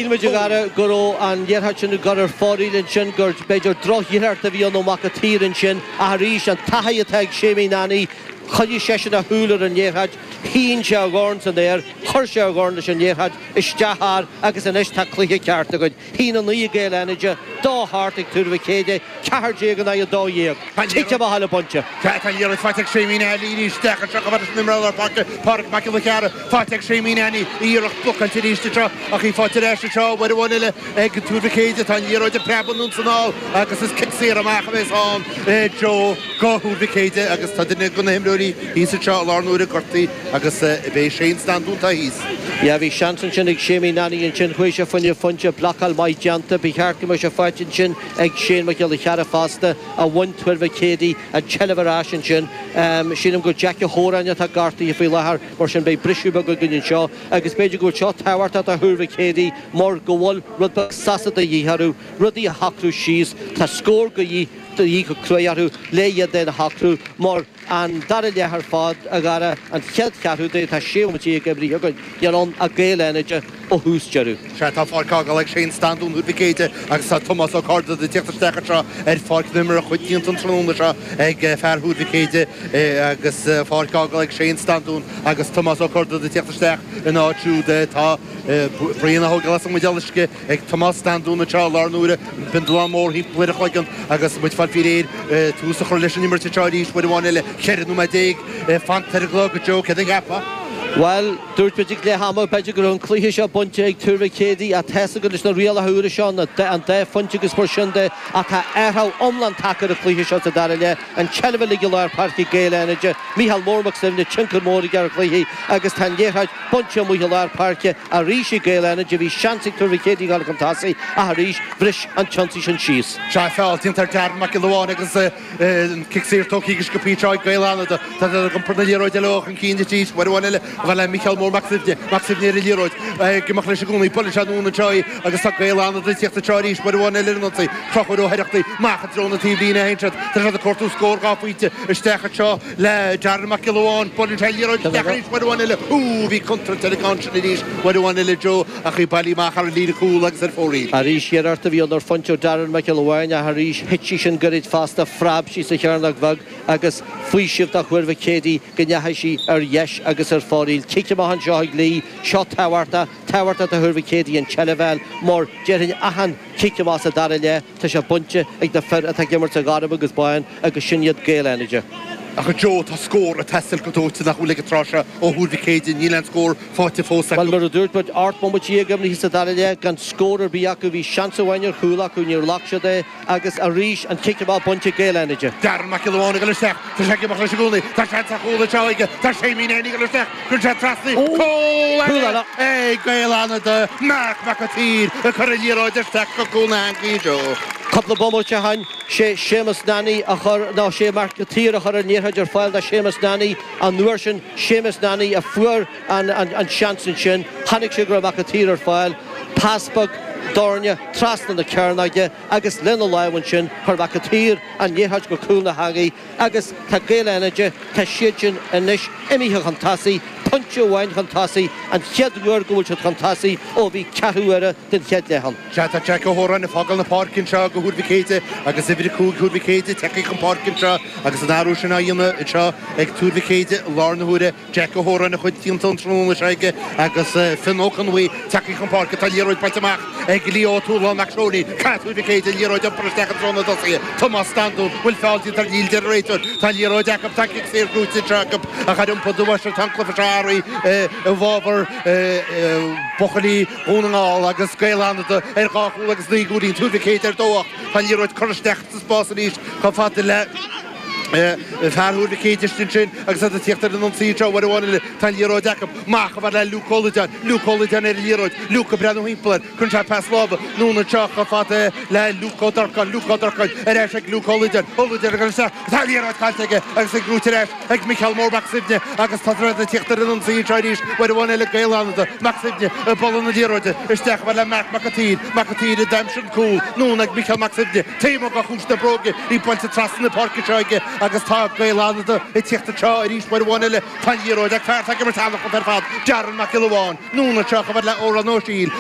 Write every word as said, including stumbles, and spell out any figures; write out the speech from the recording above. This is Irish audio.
Shíl muid, a Dhara, go raibh an liathróid sin ag dul ar fóraoil ansin, gur b'fhéidir drochiarracht a bhí ann ó Mac an tSaoir ansin, ach arís an taithí atá ag Séimí Nanny, choinnigh seisean a shúil ar an liathróid, shín sé a dhorn san aer, chuir sé a dhorn leis an liathróid isteach thar agus anois tá cluiche ceart againn. Haon a naoi ag Gaeil Fhánaide, dó a hocht ag Tuar Mhic Éadaigh, ceathair déag in aghaidh a dó dhéag. Cic amach eile bainte. Tá an liathróid faighte ag Séimí Nanny arís isteach anseo chomh fada leis an imreoir lár páirce, Pádraig Mac Giolla Chearra. Faighte ag Séimí Nanny, iarracht blocáilte arís anseo ach í faighte ar ais anseo uair amháin eile ag Tuar Mhic Éadaigh. Tá an liathróid ag preabadh anonn is anall agus is cic saor amach a bheas ann Joe go Thuar Mhic Éadaigh agus tá duine de na himreoirí thíos anseo i láthair na huaire gortaithe agus b'é Shane Standún atá thíos. Yeah, bhí seans ansin ag Séimí Nanny ansin, chuaigh sé fá choinne pointe, blocáil maith déanta, ba cheart go mbeadh sé faighte ansin ag Shane Mac Giolla Chearra fosta a bhain Tuar Mhic Éadaigh an tseilbh ar ais ansin. Sílim gur Jackie Ó hÓráin atá gortaithe faoi láthair, mar sin beidh briseadh beag againn anseo agus b'fhéidir go bhfuil seo tábhachtach do Thuar Mhic Éadaigh mar go bhfuil rud beag sosa de dhíth orthu, rudaí a shocrú síos. Tá scór de dhíth de dhíth go cruaidh orthu le iad féin a shocrú mar an dara leath ar fad, a Dhara, an chéad cheathrú de, tá sé bhomaite déag imrithe againn, níl ann ach Gaeil Fhánaide ó thús deireadh. Sea, tá páirc á fágáil ag Shane Standún Thuar Mhic Éadaigh agus tá Tomás Ó Cárda ag tíocht isteach anseo ar pháirc na himeartha, cuid déanta an tráthnóna seo ag fear Thuar Mhic Éadaigh agus páirc á fhágáil ag Shane Standún agus Tomás Ó Cárda ag tíocht isteach ina áit siúd. Tá braon á thógáil as an mbuidéal uisce ag Tomás Standún anseo i láthair na huaire, bindealán mór thimpeall ar a chloigeann agus muid ag fáil faoi réir tús a chur leis an imirt anseo arís uair amháin eile. Ceithre nóiméad déag fanta ar an gclog, a Joe, céard a cheapfá? Bhuel, dúirt muid ag leath ama, b'fhéidir go raibh an cluiche seo bainte ag Tuar Mhic Éadaigh, ach tá's againn leis na rialacha úra seo, an dá phointe agus mar sin de, ach tá athrú iomlán tagtha ar an chluiche seo sa dara leath, an tseilbh uilig i lár páirce ag Gaeil Fhánaide, Mícheál Mór Mac Suibhne, tionchar mór aige ar an chluiche agus tá an liathróid bainte amuigh i lár páirce arís ag Gaeil Fhánaide, bhí seans ag Tuar Mhic Éadaigh a dhul chun tosaigh ach arís bhris an t-ionsaí sin síos. Sea, feall déanta ar Darren Mac Giolla Bháin agus an cic saor tógtha go sciobtha anseo ag Gaeil Fhánada. Tá siad ag iompar na liathróide leo chun cinn arís. Uair amháin eile a bheith le Mícheál Mór Mac Suibhne. Mac Suibhne ar an liathróid. Ag imeacht leis i gcónaí. Buaileann sé anonn anseo í agus tá Gaeil Fhánada ag tíocht anseo arís. Uair amháin eile ar an ionsaí. Conchúr Ó hOireachtaigh amach i dtreo na taobhlíne a théann siad. Tá siad ag cuartú scór dhá phointe isteach anseo le Darren Mac Giolla Bháin. Buaileann sé an liathróid isteach arís. Uair amháin eile. Úúú bhí contúirt ar an gceann sin arís. Uair amháin eile Joe ach í bailithe amach thar an líne cúl agus ar fóraoil. Arís iarracht a bhí ann ar phointe ó Darren Mac Giolla Bháin ach arís thit sí sin gairid fosta, phreab sí sa chearnóg bheag agus faoiseamh do Thuar Mhic Éadaigh go ndeachaigh sí ar dheis agus ar fóraoil. Cic amach anseo ag Lee, seo tábhachtach, tábhachtach do Thuar Mhic Éadaigh an tseilbh a fháil mar déarfainn achan cic amach sa dara leath tá sé bainte ag na fir atá ag imirt sa ghorm agus bán agus sin iad Gaeil Fhánaide. Ach a Joe, tá scór ag teastáil go dóite nach bhfuil ag an tráth seo ó Thuar Mhic Éadaigh, níl aon scór faighte fós acu. Bhuel, mar a dúirt muid, ocht mbomaite déag imithe sa dara leath gan scór ar bith acu. Bhí seans amháin ar chúl acu, níor ghlac siad é agus arís an cic amach bainte ag Gaeil Fhánaide. Darren Mac Giolla Bháin ag dul isteach, tá sé ag imeacht leis i gcónaí, tá seans ar chúl anseo aige, tá Séimí Nanny ag dul isteach, cuireann sé trasna, cúl eile ag Gaeil Fhánada, Marc Mac an tSaoir ag cur an liathróid isteach go cúl na heangaí, Joe. Cúpla bomaite ó shin, sé Séamus Nanny a chuir, nó sé Marc Mac an tSaoir a chuir an liathróid ar fáil do Séamus Nanny an uair sin, Séamus Nanny a fuair an seans ansin, chonaic sé go raibh Mac an tSaoir ar fáil, pas beag doirne trasna na cearnóige agus lena lámh ansin chuir Mac an tSaoir an liathróid go cúl na heangaí agus tá Gaeil Fhánaide, tá siad sin anois imithe chun tosaigh, pointe amháin chun tosaigh, an chéad uair go bhfuil siad chun tosaigh ó bhí ceathrú uaire den chéad leath ann. Sea, tá Jack Ó hÓráin ag fágáil na páirce anseo do Thuar Mhic Éadaigh agus uimhir a cúig Thuar Mhic Éadaigh tagtha chun páirce anseo agus an athrú sin á dhéanamh anseo ag Tuar Mhic Éadaigh i láthair na huaire. Jack Ó hÓráin a chuid déanta an tráthnóna seo aige agus Fionn Ó Conbhuí tagtha chun páirce. Tá liathróid bainte amach ag Leo Ó Tualáin Mac Seoinín. Caithfidh Tuar Mhic Éadaigh an liathróid a iompar isteach i dtreo na dtosaithe. Tomás Standún, bhfuil feall déanta air? Níl, deir an réiteoir. Tá an liathróid acu, tá cic saor gnóite anseo acu ach ar iompar do bhois tá an cluiche seo athraithe i bhfabhar buachaillí Dhún na nGall agus Gaeil Fhánada ar dhá chúl agus naoi gcúilín, Tuar Mhic Éadaigh ar dó ocht. Tá an liathróid curtha isteach sa spás arís chomh fada le fear Thuar Mhic Éadaigh istigh ansin agus iad ag tíocht ar an ionsaí anseo uair amháin eile. Tá an liathróid acu. Amach chomh fada le Luke Ó Loideáin. Luke Ó Loideáin ar an liathróid. Luke ag breathnú thimpeall air. Cuireann sé pas láimhe anonn anseo chomh fada le Luke Ó Durcáin. Luke Ó Durcáin ar ais ag Luke Ó Loideáin. Ó Loideáin ag dul isteach. Tá an liathróid caillte aige agus í gnóite ar ais ag Micheál Mór Mac Suibhne agus tá siad ag tíocht ar an ionsaí anseo arís uair amháin eile Gaeil Fhánada. Mac Suibhne ag bualadh na liathróide isteach chomh fada le Marc Mac an tSaoir. Mac an tSaoir a d'aimsigh an cúl anonn ag Micheál Mac Suibhne. Taobh amuigh de chuas na bróige í buailte trasna na páirce anseo aige agus tá Gaeil Fhánada ag tíocht anseo arís uair amháin eile. Tá an liathróid ag fear atá ag imirt an-chluiche ar fad, Darren Mac Giolla Bháin. Anonn anseo chomh fada le Odhrán Ó Siail.